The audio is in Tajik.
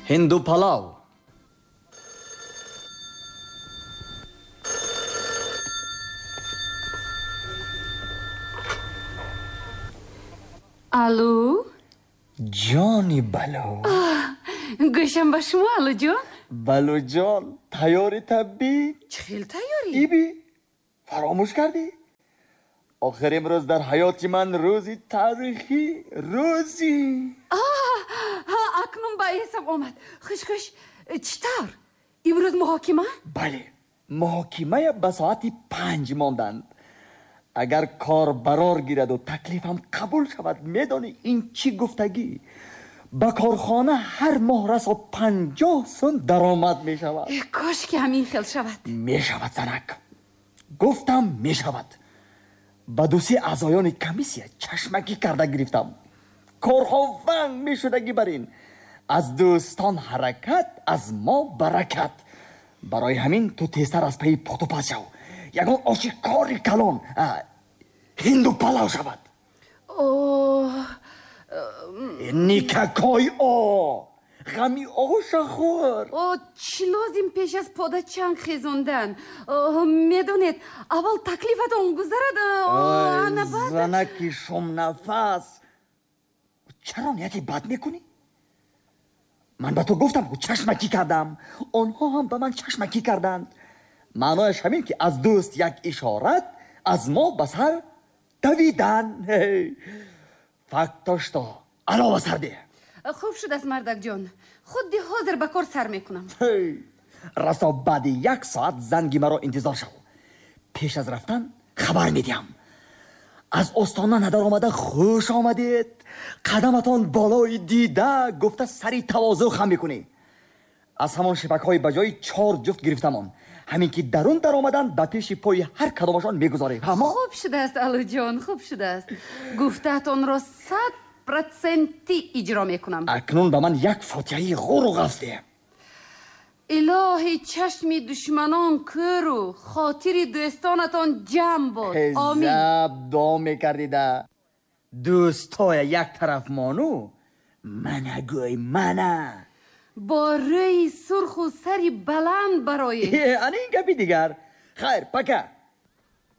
Ҳинду палав. Алло? Ҷони Балу. Гӯшам ба шумо, Аллоҷон. Балуҷон, тайёри таббӣ? Чӣ хел тайёрӣ? Иби, фаромӯш кардӣ? Охир имрӯз дар ҳаёти ман рӯзи таърихӣ, рӯзи. Акнун ба эсам омад. Хуш хуш, чӣ тавр? Имрӯз муҳокима? Бале, муҳокимая ба соати 5 монданд. Агар кор барор гираду таклифам қабул шавад, медонӣ ин чӣ гуфтагӣ? Ба корхона ҳар моҳ расо 50 сум даромад мешавад. Кош ки ҳамин хел шавад. Мешавад, занак. Гуфтам мешавад. Ба дусе аъзоёни комиссия чашмакӣ карда гирифтам. Корҳо ванг мешудагӣ бар ин. Аз дӯстон ҳаракат, аз мо баракат. Барои ҳамин ту тезтар аз пайи пухтупаз шав. Ягон оши кори калон ҳинду палав шавад. Никакой о! Ғами оша хӯр. О, чӣ лозим пеш аз пода чанг хезондан? Медонед, аввал таклифатон гузарад, ана баъд. Занаки шумнафас, чаро нияти бад мекунӣ? Ман ба ту гуфтам, чашмакӣ кардам. Онҳо ҳам ба ман чашмакӣ карданд. Маънояш ҳамин ки аз дӯст як ишорат, аз мо ба сар давидан. Факто что алова сар деҳ. Хуб шудааст, мардакҷон. Худди ҳозир ба кор сар мекунам. Расо баъди як соат занги маро интизор шав. Пеш аз рафтан хабар медиҳам. Аз остона надаромада хуш омадед, қадаматон болои дида гуфта сари тавозӯ хам мекунӣ. Аз ҳамон шипакҳои ба ҷои 4 ҷуфт гирифтамон. Ҳамин ки дарун даромаданд, ба пеши пои ҳар кадомашон мегузорем. Ҳамо? Хуб шудааст, Аллоҷон, хуб шудааст. Гуфтаатонро 100% иҷро мекунам. Акнун ба ман як фотиҳаи ғуру ғафз деҳ. Илоҳи чашми душманон кӯру хотири дӯстонатон ҷамъ бод. Омин. Заб дуо мекардида. Дӯстоя як тараф мону, мана гӯй мана. Бо рӯи сурху сари баланд бароед. Ана ин гапи дигар. Хайр, пока.